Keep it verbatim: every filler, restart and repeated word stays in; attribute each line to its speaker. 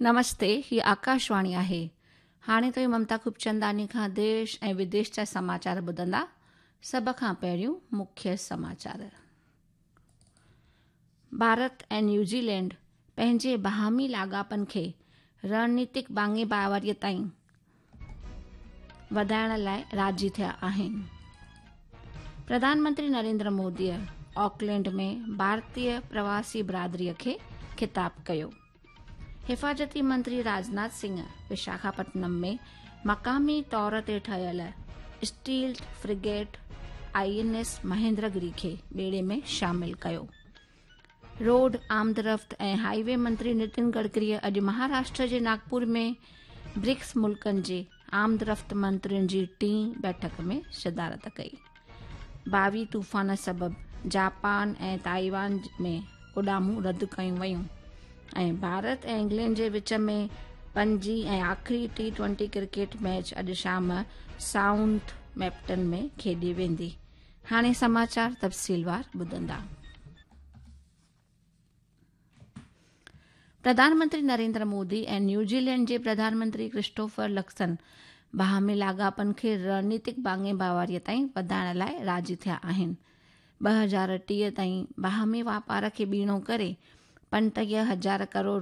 Speaker 1: نمستي، هي آڪاشواڻي آهي. هاڻي توهين ممتا خوبچنداڻي کان ديش ۽ وديش جا سماچار ٻڌندا. سڀ کان پهريون مکيه سماچار. ڀارت ۽ نيوزيلينڊ پنهنجي باهمي لاڳاپن کي رڻنيتڪ ڀاڱي ڀائيواريءَ تائين وڌائڻ لاءِ راضي ٿيا آهن. پرڌان منتري نريندر موديءَ آڪلينڊ ۾ ڀارتيه پرواسي برادريءَ کي خطاب ڪيو. حفاظتي منتري راجناٿ سنگهه وشاکاپٽنم ۾ مقامي طور تي ٺهيل stealth frigate I N S Mahendragiri کي ٻيڙي ۾ شامل ڪيو. روڊ آمدرفت ۽ هاءِ وي منتري نتن گڊڪريءَ اڄ مهاراشٽر جي ناگپور ۾ برڪس ملڪن جي آمدرفت منترين جي ٽين بيٺڪ ۾ صدارت ڪئي. باوي طوفان سبب جاپان ۽ تائيوان ۾ اڏامون رد ڪيون ويون ۽ ڀارت ۽ انگلينڊ جي وچ ۾ پنجين ۽ آخري ٽي ٽوئنٽي ڪرڪيٽ ميچ اڄ شام سائوٿ ميمپٽن ۾ کيڏي ويندي. هاڻي سماچار تفصيلوار ٻڌندا. پرڌان منتري نريندر مودي ۽ نيوزيلينڊ جي پرڌان منتري ڪرسٽوفر لڪسن باهمي لاڳاپن کي رڻنيتڪ ڀاڱي ڀائيواريءَ تائين وڌائڻ لاءِ راضي ٿيا آهن. ٻه هزار ٽيهه تائين باهمي واپار کي ٻيڻو ڪري پنٽيهه هزار ڪروڙ